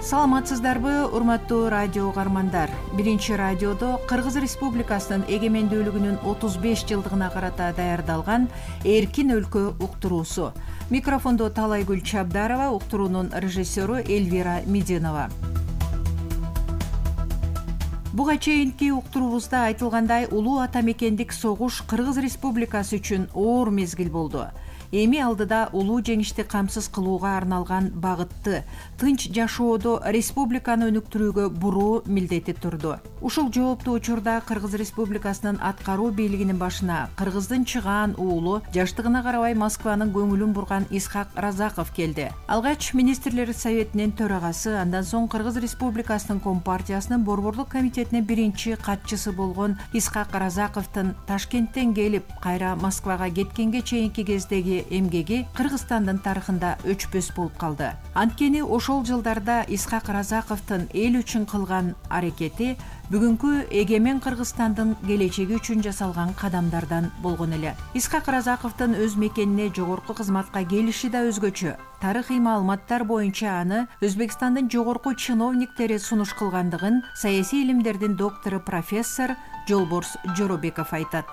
Саламатсыздарбы, урматтуу радио угармандар. Биринчи радиодо Кыргыз Республикасынын эгемендүүлүгүнүн 35 жылдыгына карата даярдалган Эркин өлкө уктуруусу. Микрофондо Талайгүл Чабдарова, уктуруунун режиссеру Эльвира Мединова. Буга чейинки уктуруубузда айтылгандай, улуу ата мекендик согуш Кыргыз Республикасы үчүн оор мезгил болду. Эми алдыда улуу жеңишти камсыз кылууга арналган багытты, тынч жашоодо республиканы өнүктүрүүгө буруу милдети турду. Ушул жооптуу учурда Кыргыз Республикасынын аткаруу бийлигинин башына кыргыздын чыгаан уулу, жаштыгына карабай Москванын көңүлүн бурган Исхак Разаков келди. Алгач министрлер советинин төрагасы, андан соң Кыргыз Республикасынын Компартиясынын борбордук комитетинин биринчи катчысы болгон Исхак Разаковдун Ташкенттен келип, кайра Москвага кеткенге чейинки кездеги эмгеги Кыргызстандын тарыхында өчпөс болуп калды. Анткени ошол жылдарда Исхак Разаковдун эл үчүн кылган аракети бүгүнкү эгемен Кыргызстандын келечеги үчүн жасалган кадамдардан болгон эле. Исхак Разаковдун өз мекенине жогорку кызматка келиши да өзгөчө. Тарыхый маалыматтар боюнча аны Өзбекстандын жогорку чиновниктери сунуш кылгандыгын саясий илимдердин доктору профессор Жолборс Жоробеков айтат.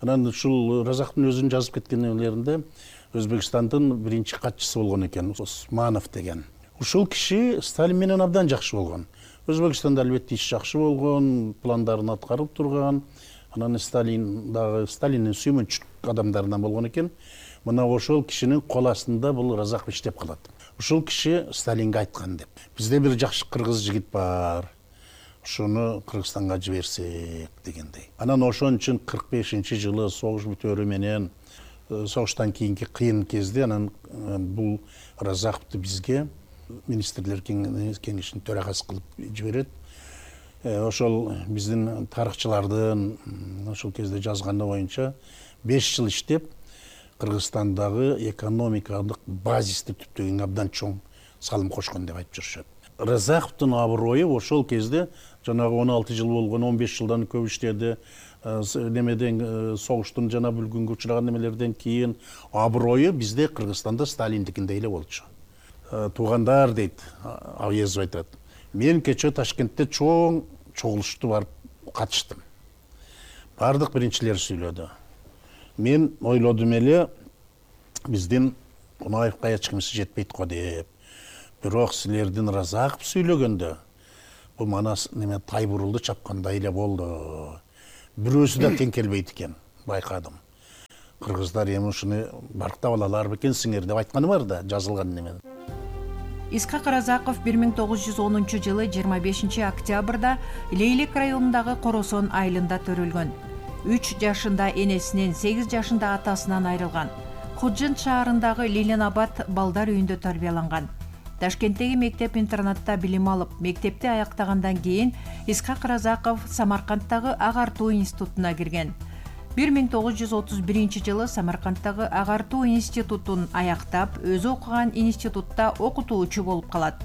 Анан ушул Разаковдун өзүнүн жазып кеткен нелеринде Өзбекстандын биринчи катчысы болгон экен, Османов деген. Ушул киши Сталин менен абдан жакшы болгон. Өзбекстанда албетте иш жакшы болгон, пландарын аткарып турган. Анан Сталиндин сүймөнчү адамдарынан болгон экен. Мына ошол кишинин кол астында бул Разаков иштеп калат. Ушул киши Сталинге айткан деп. Бизде бир жакшы кыргыз жигит бар. Ушуну Кыргызстанга жиберсек дегендей. Анан ошон үчүн 45-жылы согуш бүтөөрү менен согуштан кийинки кыйын кезде анан бул Разаковду бизге министрлер кеңешинин төрагасы кылып жиберет. Ошол биздин тарыхчылардын ошол кезде жазганы боюнча 5 жыл иштеп Кыргызстандагы экономикалык базисти түптөгөнгө абдан чоң салым кошкон деп айтып жүрүшөт. Разаковдун аброю ошол кезде жанагы 16 жыл болгон, 15 жылдан көп иштеди. Немеден согуштун жана бүлгүнгө учураган немелерден кийин аброю бизде Кыргызстанда Сталиндикиндей эле болчу. Туугандар дейт, Авьезов айтат. Мен кечээ Ташкентте чоң чогулушту барып катыштым. Бардык биринчилер сүйлөдү. Мен ойлодум эле, биздин Кунаевка эч кимиси жетпейт го деп. Бирок силердин Разаков сүйлөгөндө бул манас неме Тайбурулду чапкандай эле болду. Бирөөсү да тең келбейт экен, байкадым. Кыргыздар эми ушуну барктап алалар бекен сиңер деп айтканы бар да, жазылган неме. Исхак Разаков 1910-жылы 25 октябрда Лейлек районундагы Коросон айылында төрөлгөн. 3 жашында энесинен, 8 жашында атасынан айрылган. Худжент шаарындагы Ленинабад балдар үйүндө тарбияланган. Ташкенттеги мектеп-интернатта билим алып, мектепти аяктагандан кийин Исхак Разаков Самаркандтагы Агартуу институтуна кирген. 1931-жылы Самаркандтагы Агартуу институтун аяктап, өзү окуган институтта окутуучу болуп калат.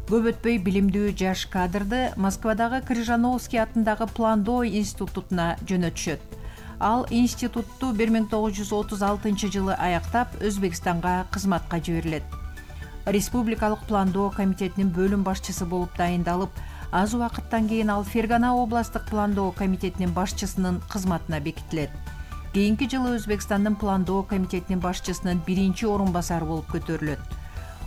Көп өтпөй билимдүү жаш кадрды Москвадагы Крыжановский атындагы Пландоо институтуна жөнөтүшөт. Ал институтту 1936-жылы аяктап, Өзбекстанга кызматка жиберилет. Республикалык пландоо комитетинин бөлүм башчысы болуп дайындалып, аз убакыттан кийин ал Фергана областтык пландоо комитетинин башчысынын кызматына бекитилет. Кийинки жылы Өзбекстандын пландоо комитетинин башчысынын биринчи орун басары болуп көтөрүлөт.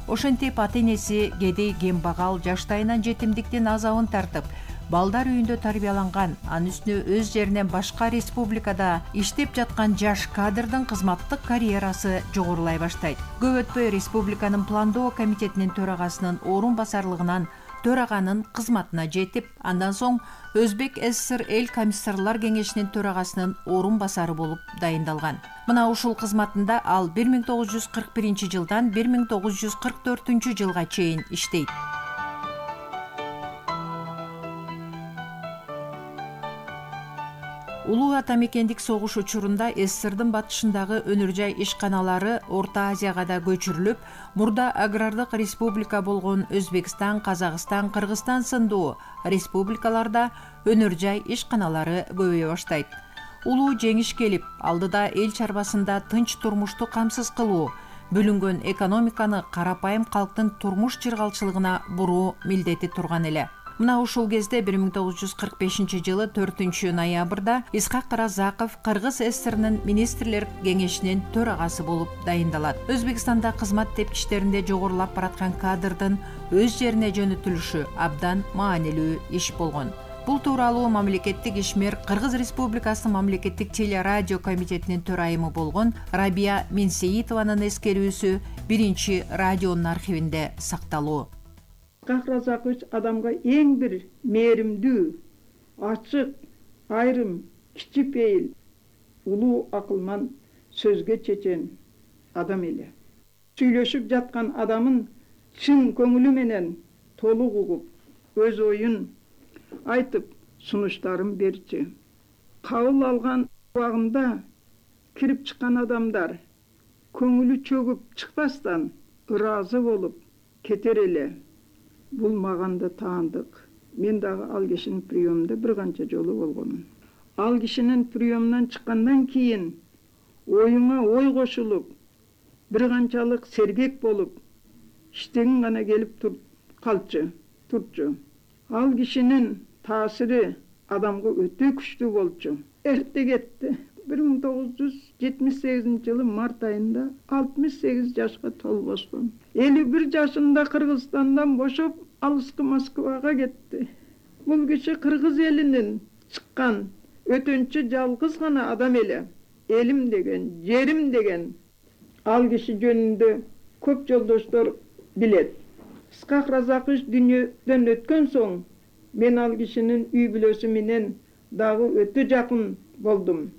Ошентип ата-энеси кедей кембагал жаштайынан жетимдиктин азабын тартып, балдар үйүндө тарбияланган, анын үстүнө өз жеринен башка республикада иштеп жаткан жаш кадрдын кызматтык карьерасы жогорулай баштайт. Көп өтпөй республиканын пландоо комитетинин төрагасынын орун басарлыгынан төраганын кызматына жетип, андан соң Өзбек ССР эл комиссарлар кеңешинин төрагасынын орун басары болуп дайындалган. Мына ушул кызматында ал 1941-жылдан 1944-жылга чейин иштейт. Улуу ата мекендик согуш учурунда СССРдын батышындагы өнөр-жай ишканалары Орто Азияга да көчүрүлүп, мурда агрардык республика болгон Өзбекстан, Казакстан, Кыргызстан сындуу республикаларда өнөр-жай ишканалары көбөйө баштайт. Улуу жеңиш келип, алдыда эл чарбасында тынч турмушту камсыз кылуу, бөлүнгөн экономиканы карапайым калктын турмуш чыргалчылыгына буруу милдети турган эле. Мына ушул кезде 1945-жылы 4-ноябрда Исхак Разаков Кыргыз ССРнын министрлер кеңешинин төрагасы болуп дайындалат. Өзбекстанда кызмат тепкичтеринде жогорулап бараткан кадрдын өз жерине жөнөтүлүшү абдан маанилүү иш болгон. Бул тууралуу мамлекеттик ишмер Кыргыз Республикасынын мамлекеттик телерадио комитетинин төрайымы болгон Рабия Менсеитованын эскерүүсү биринчи радионун архивинде сакталуу. Исхак Разакович адамга эң бир мээримдүү, ачык, айрым, кичипейил, улуу акылман, сөзгө чечен адам эле. Сүйлөшүп жаткан адамын чын көңүлү менен толук угуп, өз оюн айтып, сунуштарын берчү. Кабыл алган убагында кирип чыккан адамдар көңүлү чөгүп чыкпастан ыраазы болуп кетер эле. Бул мага да таандык. Мен дагы ал кишинин приемунда бир канча жолу болгонмун. Ал кишинин приемунан чыккандан кийин оюңа ой кошулуп, бир канчалык сергек болуп, иштегиң гана келип турчу. Ал кишинин таасири адамга өтө күчтүү болчу. Эрте кетти. 1978-жылы март айында 68 жашка толбошкон. 51 жашында Кыргызстандан бошоп, алыскы Москвага кетти. Бул киши Кыргыз элинин чыккан өтөнчү жалгыз гана адам эле. Элим деген, жерим деген. Ал киши жөнүндө көп жолдоштор билет. Исхак Разакович дүйнөдөн өткөн соң, мен ал кишинин үй бүлөсү менен дагы өтө жакын болдум.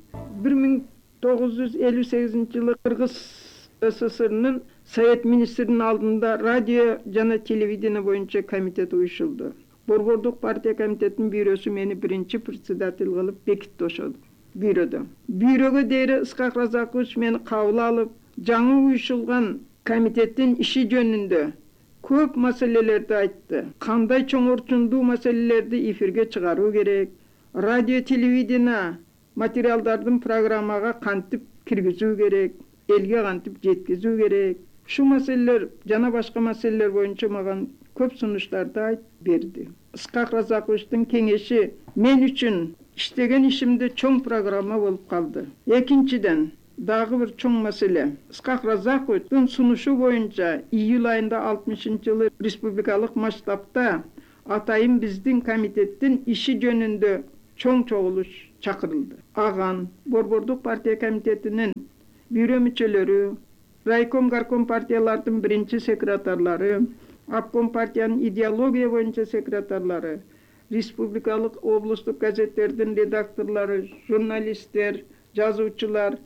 1958-жылы Кыргыз СССРнын Совет министринин алдында радио жана телевидение боюнча комитет уюшулду. Борбордук партия комитетинин бюросу мени биринчи председатель кылып бекитти ошол бюродо. Бюрого дейре Исхак Разакович мени кабыл алып, жаңы уюшулган комитеттин иши жөнүндө көп маселелерди айтты. Кандай чоңорчундуу маселелерди эфирге чыгаруу керек, радио телевидение материалдардын программага кантип киргизүү керек, элге кантип жеткизүү керек. Ушул маселелер жана башка маселелер боюнча мага көп сунуштарды айтып берди. Исхак Разаковичтин кеңеши мен үчүн иштеген ишимде чоң программа болуп калды. Экинчиден, дагы бир чоң маселе. Исхак Разаковичтин сунушу боюнча июль айында 60-жылы республикалык масштабта атайын биздин комитеттин иши жөнүндө чоң чогулуш чакырылды. Аган Борбордук партия комитетинин бюро мүчөлөрү, райком горком партиялардын биринчи секретарлары, обком партиянын идеология боюнча секретарлары, республикалык облустук газеттердин редакторлору, журналисттер, жазуучулар,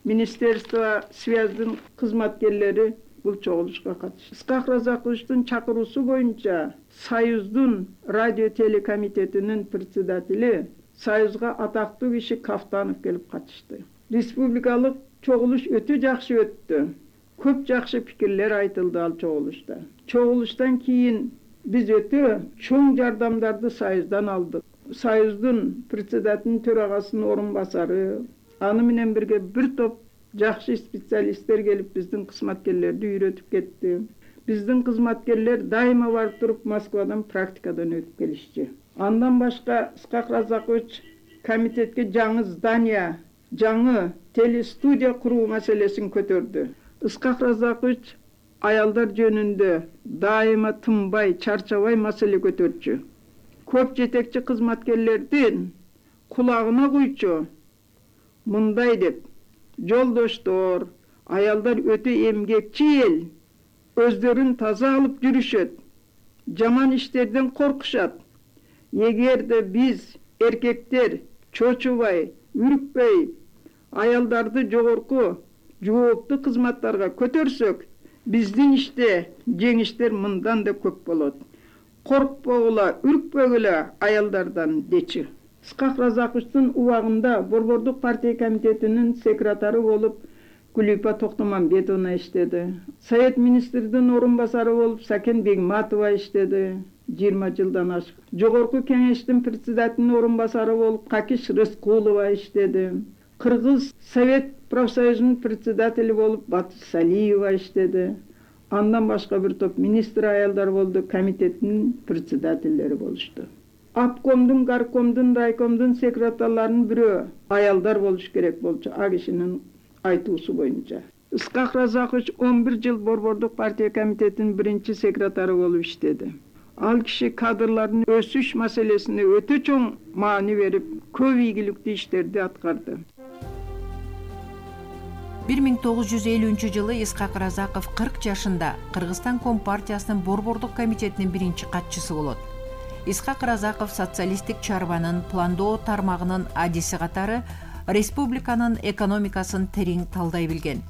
министерство связьдин кызматкерлери бул чогулушка катышты. Исхак Разаковичтин чакыруусу боюнча Союздун радио телекомитетинин председатели, Союзга атактуу киши Кафтанов келип катышты. Республикалык чогулуш өтө жакшы өттү. Көп жакшы пикирлер айтылды ал чогулушта. Чогулуштан кийин биз өтө чоң жардамдарды Союздан алдык. Союздун председателинин төрагасынын орун басары, аны менен бирге бир топ жакшы специалисттер келип биздин кызматкерлерди үйрөтүп кетти. Биздин кызматкерлер дайыма барып туруп Москвадан практикадан өтүп келишчи. Андан башка Исхак Разакович комитетке жаңы здание, жаңы телестудия куруу маселесин көтөрдү. Исхак Разакович аялдар жөнүндө дайыма тынбай, чарчабай маселе көтөрчү. Көп жетекчи кызматкерлердин кулагына куйчу. Мындай деп: жолдоштор, аялдар өтө эмгекчил, өздөрүн таза алып жүрүшөт, жаман иштерден коркушат. Эгерде биз эркектер чочубай, үркпөй, аялдарды жогорку жооптуу кызматтарга көтөрсөк, биздин иште жеңиштер мындан да көп болот. Коркпогула, үркпөгүлө аялдардан дечи. Исхак Разаковичтин убагында Борбордук партия комитетинин секретары болуп Гүлипа Токтомамбетовна иштеди. Совет министринин орун басары болуп Сакен Бегматова иштеди. 20 жылдан ашык. Жогорку кеңештин председателинин орун басары болуп Какиш Рыскулова иштеди. Кыргыз Совет профсоюзунун председатели болуп Батыш Салиева иштеди. Андан башка бир топ министр аялдар болду, комитеттин председателдери болушту. Обкомдун, горкомдун, райкомдун секретарларынын бирөө аялдар болуш керек болчу, а кишинин айтуусу боюнча. Исхак Разакович 11 жыл Борбордук партия комитетинин биринчи секретары болуп иштеди. Ал киши кадрлардын өсүш маселесине өтө чоң маани берип, көп ийгиликтүү иштерди аткарды. 1950 Исхак Разаков 40 жашында Кыргызстан Компартиясынын Борбордук комитетинин биринчи катчысы болот. Исхак Разаков социалисттик чарбанын пландоо тармагынын адиси катары республиканын экономикасын терең талдай билген.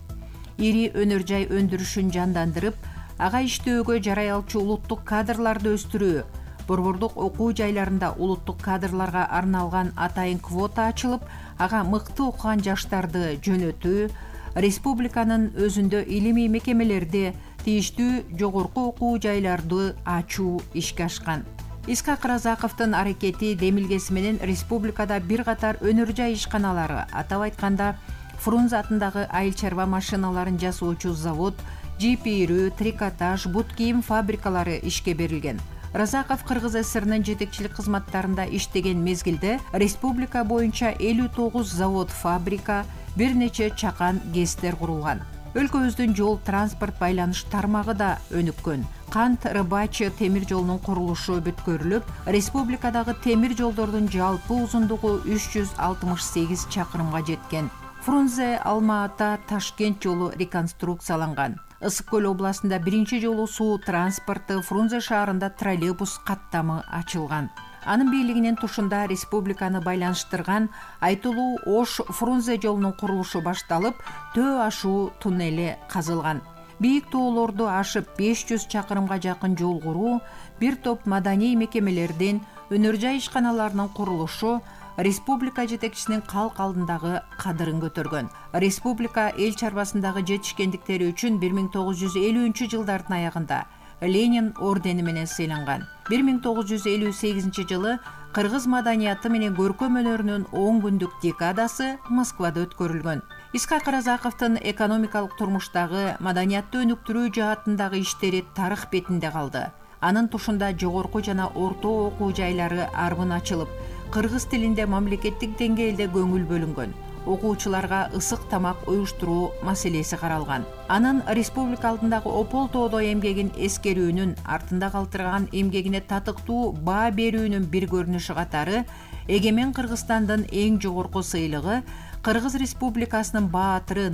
Ири өнөр жай өндүрүшүн жандандырып, ага иштөөгө жарай алчу улуттук кадрларды өстүрүү, борбордук окуу жайларында улуттук кадрларга арналган атайын квота ачылып, ага мыкты окуган жаштарды жөнөтүү, республиканын өзүндө илимий мекемелерде тийиштүү жогорку окуу жайларды ачуу ишке ашкан. Исхак Разаковдун аракети демилгеси менен республикада бир катар өнөр жай ишканалары, атап айтканда Фрунзе атындагы айыл чарба машиналарын жасоочу завод, жипирүү, трикотаж, бут кийим фабрикалары ишке берилген. Разаков Кыргыз ССРнын жетекчилик кызматтарында иштеген мезгилде республика боюнча 59 завод, фабрика, бир нече чакан ГЭСтер курулган. Өлкөбүздүн жол транспорт байланыш тармагы да өнүккөн. Кант Рыбачы темир жолунун курулушу бүткөрүлүп, республикадагы темир жолдордун жалпы узундугу 368 чакырымга жеткен. Фрунзе Алма-Ата Ташкент жолу реконструкцияланган. Ысык көл областында биринчи жолу суу транспорту, Фрунзе шаарында троллейбус каттамы ачылган. Анын бийлигинин тушунда республиканы байланыштырган айтылуу Ош-Фрунзе жолунун курулушу башталып, Төө ашуу туннели казылган. Бийик тоолорду ашып 500 чакырымга жакын жол куруу, бир топ маданий мекемелердин, өнөр жай ишканаларынын курулушу республика жетекчисинин калк алдындагы кадырын көтөргөн. Республика эл чарбасындагы жетишкендиктери үчүн 1950-жылдардын аягында Ленин ордени менен сыйланган. 1958 жылы кыргыз маданияты менен көркөм өнөрүнүн 10 күндүк декадасы Москвада өткөрүлгөн. Исхак Разаковдун экономикалык турмуштагы маданиятты өнүктүрүү жаатындагы иштери тарых бетинде калды. Анын тушунда жогорку жана орто окуу жайлары арбын ачылып, кыргыз тилинде мамлекеттик деңгээлде көңүл бөлүнгөн. Окуучуларга ысык тамак уюштуруу маселеси каралган. Анын республика алдындагы опол-тоодо эмгегин эскерүүнүн, артында калтырган эмгегине татыктуу баа берүүнүн бир көрүнүшү катары эгемен Кыргызстандын эң жогорку сыйлыгы Кыргыз Республикасынын баатыры